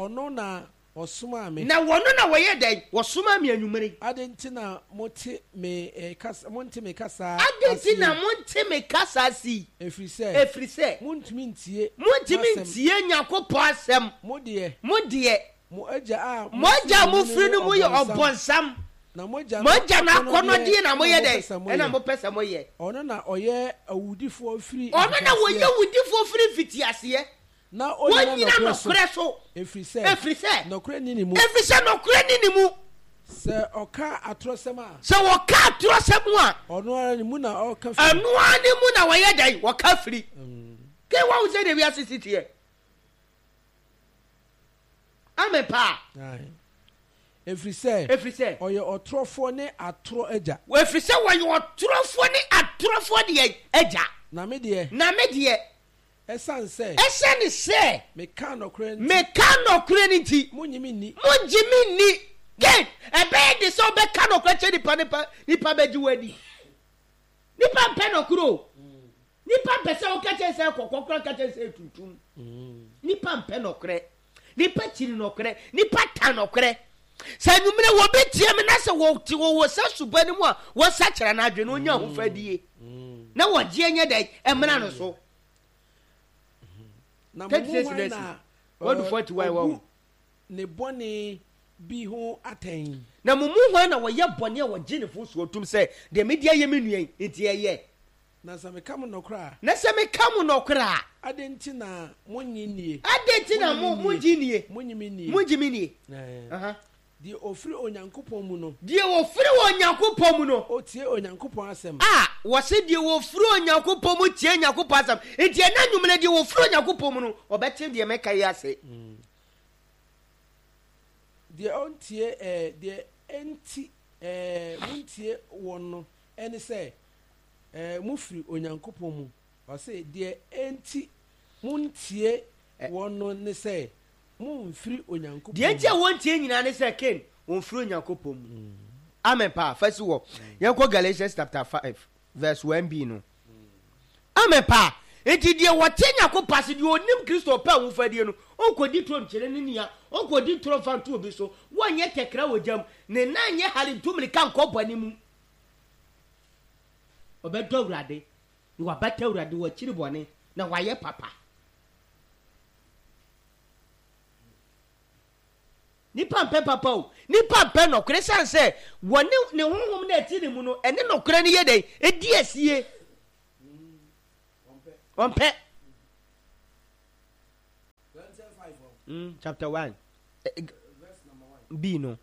ɔno na ɔsomaa me. Na wɔno na wɔyɛ dɛn? Wɔsomaa me anwummere yi. Adɛn nti na mote me eh, kasa, monte me kasa Adɛn ase nti na yi? monte me kasa ase yi? Ɛfiri sɛ. Ɛfiri sɛ. Montumi ntie Montumi m'asɛm. ntie Nyankopɔn asɛm. Mo deɛ. Mo deɛ. Mo agya a Mo agya a mofiri mofiri ne no mu mu yɛ yɛ ɔbonsam. ɔbonsam. Na mo agya Mo no agya no akɔnnɔdeɛ akɔnnɔdeɛ na na moyɛ mopɛ dɛn? sɛ Ɛna moyɛ. mopɛ sɛ moyɛ. Ɔno na ɔyɛ awudifoɔ firi Ɔno na wɔyɛ mfitiaseɛ. awudifoɔ firi mfitiaseɛ. Na ɔnnyina Wɔnnyina nɔkorɛ so, nɔkorɛ so, ɛfiri sɛ, ɛfiri sɛ, nɔkorɛ nni ne mu. Ɛfiri sɛ nɔkorɛ nni ne mu. Sɛ ɔka atorɔsɛm a. Sɛ ɔka atorɔsɛm a. Ɔno ara ne mu na ɔka firi. Ɛno ara ne mu na wɔyɛ dɛn? Wɔka firi. Kei wahu sɛdeɛ wiase si teɛ? Amen paa. Ae. Ɛfiri sɛ. Ɛfiri sɛ. Ɔyɛ ɔtorɔfoɔ ne atorɔ agya. Ɛfiri sɛ wɔyɛ ɔtorɔfoɔ ne atorɔfoɔ deɛ agya. Na me deɛ. Na me deɛ. Ɛsiane sɛ. Ɛsiane sɛ. Meka nɔkorɛ nti. Meka nɔkorɛ no nti. Monnye me nni. Monnye me nni. Ken, ɛbɛyɛ de sɛ wobɛka nɔkorɛ kyerɛ nipa nipa nipa bɛgye wo adi. Nipa mpɛ nɔkorɛ o. Nipa mpɛ sɛ woka kyerɛ sɛ kɔkɔɔ koraa nka kyerɛ sɛ tuntum. Nipa mpɛ nɔkorɛ. Nipa kyiri nɔkorɛ. Nipa tan nɔkorɛ. Sɛ anwummerɛ wɔbi tie me na sɛ wɔte wɔwɔ sa suba no mu a wɔsakyera n'adwene na ɔnya ahofadie na wɔgyeɛ nyɛ dɛn ɛmmra no so. Na mo mu hwan na ɔbu ne bɔne bi ho atɛn? Na mo mu hwan na ɔyɛ bɔne a wɔgye ne fo soɔ tom sɛ, Deɛ mede ayɛ me nua yi nti ɛyɛ? Na sɛ meka mo nɔkorɛ a. Na sɛ meka mo nɔkorɛ a. Adɛn nti na monnye nnie? Adɛn nti na monnye nnie? Monnye me nnie. Monnye me nnie. Deɛ ɔfiri Onyankopɔn mu no. Deɛ ɔfiri Onyankopɔn mu no. Ɔtie Onyankopɔn asɛm. A, wɔse deɛ ɔfiri Onyankopɔn mu tie Onyankopɔn asɛm. Enti ɛnnɛ anwummerɛ deɛ ɔfiri Onyankopɔn mu no, ɔbɛte deɛ mɛka yi ase. Deɛ ɔntie ɛɛ, deɛ enti ɛɛ montie wɔn no ne sɛ, ɛɛ mofiri Onyankopɔn mu. Ɔse deɛ enti montie wɔn no ne sɛ, Momfiri Onyankopɔn Deɛ nti a mu. wɔntie nyinaa ne sɛ Cain, wɔmfiri Onyankopɔn mu. Amen paa. Fa si hɔ. Yɛnkɔ Galatians chapter 5 verse 1b no. Amen paa. Nti deɛ wɔte Nyankopɔn ase, deɛ ɔnim Kristo ɔpɛ ahofadie no, ɔnkɔdi toro nkyerɛ ne nua, ɔnkɔdi toro mfa nto obi so, wɔnyɛ tɛkra wɔ gya mu, ne nan nyɛ hare ntu mmirika nkɔ bɔne mu. Ɔbɛdɔ Awurade, na wabata Awurade, wakyiri bɔne, na wayɛ papa. Nipa mpɛ papa o, nipa mpɛ nɔkorɛ ɛsiane sɛ wɔne ne honhom no a ɛte ne mu no ɛne nɔkorɛ no yɛ dɛn? Ɛdi asie. Ɔmpɛ. Mm, chapter 1 B no.